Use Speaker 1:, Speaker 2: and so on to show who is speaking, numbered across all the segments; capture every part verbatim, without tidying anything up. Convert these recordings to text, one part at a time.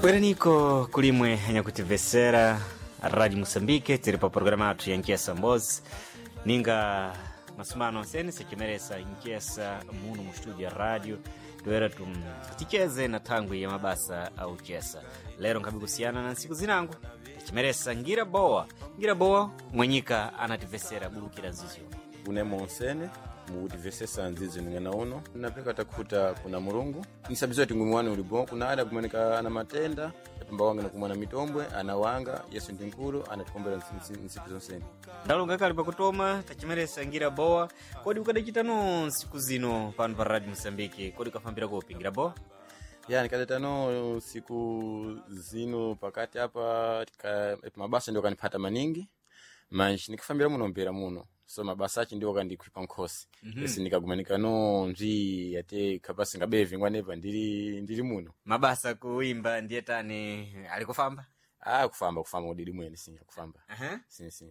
Speaker 1: Bweraniko kulimwe anyakutivesera Radio Moçambique, tiri pa programa athu ya Nchesa Mbozi. Ninga masumano ansene sechimeresa nchesa muno mu studio ya radio toera tum ticheze na thangwi ya mabasa au chesa. Lero nkhabe kusiyana na ntsiku zinango tichimeresa ngira bowa ngira bowa mwenyika anativesera bulukira nzizyo
Speaker 2: Une monsene mukutivesesa nzizi ning'ana uno napeka takhuta kuna Mulungu nisabiziwa ti ngumi wanu uli bon kuna ada kumanika ana matenda apemba wanga nakumwana mitombwe ana wanga Yesu ndi nkulu anatikombera ntsiku zonsene.
Speaker 1: Ndalonga kali pakutoma tachimeresa ngira bowa. Kodi ukadachitano ntsiku zino pano pa Radio Moçambique, kodi ukafambira kopi ngira bowa?
Speaker 2: Ya, nikadetano siku zino pakati apa tika, mabasa ndio kanipata maningi manji nikafambira muno mpera muno so mabasa achi ndio kandikhwipa nkhosi mm -hmm. Esi nikagumanika nji ate kapasi ngabevi ngwanepa ndili ndili muno
Speaker 1: Mabasa kuimba ndiye tani alikufamba.
Speaker 2: Ah, kufamba kufamba kudidi mwene si kufamba.
Speaker 1: uh-huh.
Speaker 2: Si si.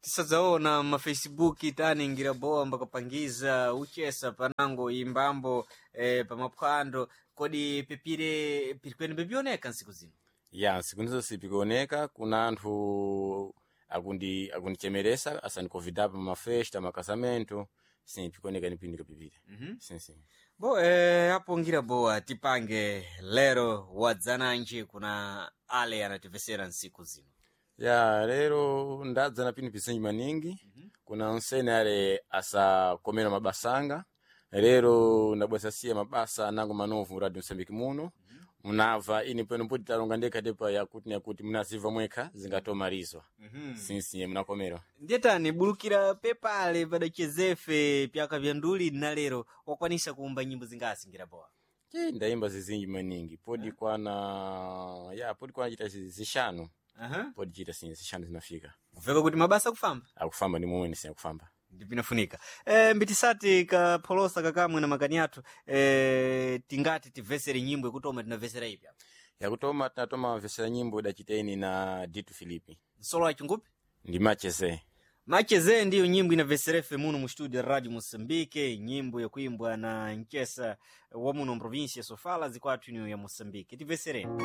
Speaker 1: Tisadzaona mafacebook tani ngira bowa mbakapangiza uchesa panango imbambo eh, pamaphwando. Kodi pepire pirikwene pepioneka ntsiku zino?
Speaker 2: Ya, nsiku nizo sipikuoneka kuna anthu akundi akundichemeresa asanikovida pa mafesta makasamento si pikuoneka nipindika pipire.
Speaker 1: mm -hmm.
Speaker 2: Si si.
Speaker 1: Bo eh, apo ngira bowa tipange lero wadzananji kuna ale anativesera ntsiku zino.
Speaker 2: Ya, lero ndadza na pinu pizinji maningi mm -hmm. Kuna nsene ale asakomera mabasanga lero ndabwasasiya mabasa anango manovu Radio Msambiki muno mm -hmm. Munava ini pano poti talonga ndekha tepa yakuti nakuti munaziva mwekha zingatomalizwa mm -hmm. Sinsiye munakomerwa.
Speaker 1: Ndiye tani bulukira pepale padachezefe pyaka vya nduli na lero wakwanisa kuumba nyimbo zingasi ngira bowa?
Speaker 2: Che, ndayimba zizinji maningi podi kwana ya podi kwana chita zishanu.
Speaker 1: uh-huh.
Speaker 2: Podi chita si zishanu zinafika.
Speaker 1: Kuveka kuti mabasa kufamba
Speaker 2: akufamba ndi momwe ndisiya kufamba.
Speaker 1: Ndipinafunika e, mbitisati kapholosa kakamwe na makani athu e, tingati tivesere nyimbo ikutoma tinavesera ipi apa?
Speaker 2: Yakutoma tinatoma vesera nyimbo idachiteni na Ditu Filipi.
Speaker 1: Msolo wa chingupi
Speaker 2: ndi macheze.
Speaker 1: Macheze ndiyo nyimbo inaveserefe muno mu studio ya Radio Moçambique, nyimbo yakuimbwa na nchesa wa muno mprovinsia Sofala zikwathu ino ya Moçambique. Tivesereni.